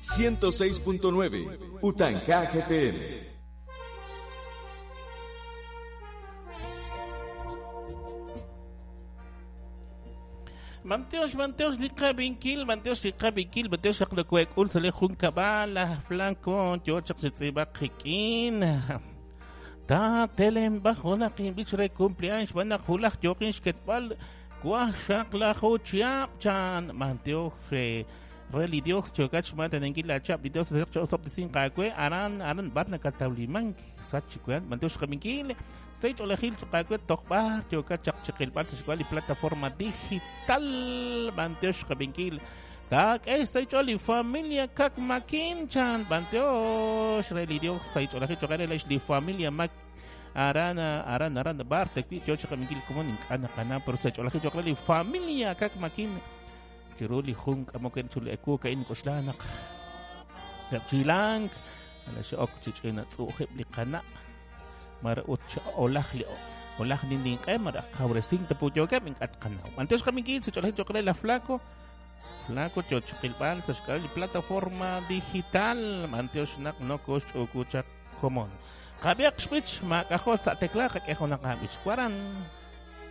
106.9 Utanka FM. Manteos, manteos, liqabinkil, manteos, liqabinkil, manteos, xaqlokuek'ul, sale jun kab'al, flanco, yo chaq xitz'ib'aq jikin. Ta telen bajo naqin bich re cumpleaños, van a julaj yoqin xketb'al, kuaj xaqlaju chiab chan, manteos, re li Dios chokach mantenenkil la chab li Dios chosob disin qakwe aran aran barna katawlimank sachikuan manteos xqabinkil sei ch'olejil choqakwe toqb'ar chokach chaqchiqilb'al sa li plataforma digital manteos xqabinkil Tak es sei ch'oli familia kak makin chan manteos re li Dios sei ch'olejil choqare li familia mak aran aran aran bar te kwi yo chaqabinkil como nink'ana qana pero sei ch'olejil choqare li familia kak makin chiru li jun k'amoken chuli eku ka'in k'oxlanaq chilank ala xe'ok chich'ina tz'u'jib' li qana' mara ut olaj li olaj ninninq'e mara kawresin tapuyokeb' ink'at qanaw antes qaminkil sich'olej choqre la flaco flaco chochiqilb'al sa xk'al li plataforma digital manteox naq nokox ch'ukuchaq komon qab'iaq xb'ich mak'ajo sa' tekla qak'ejo naqab'ich waran.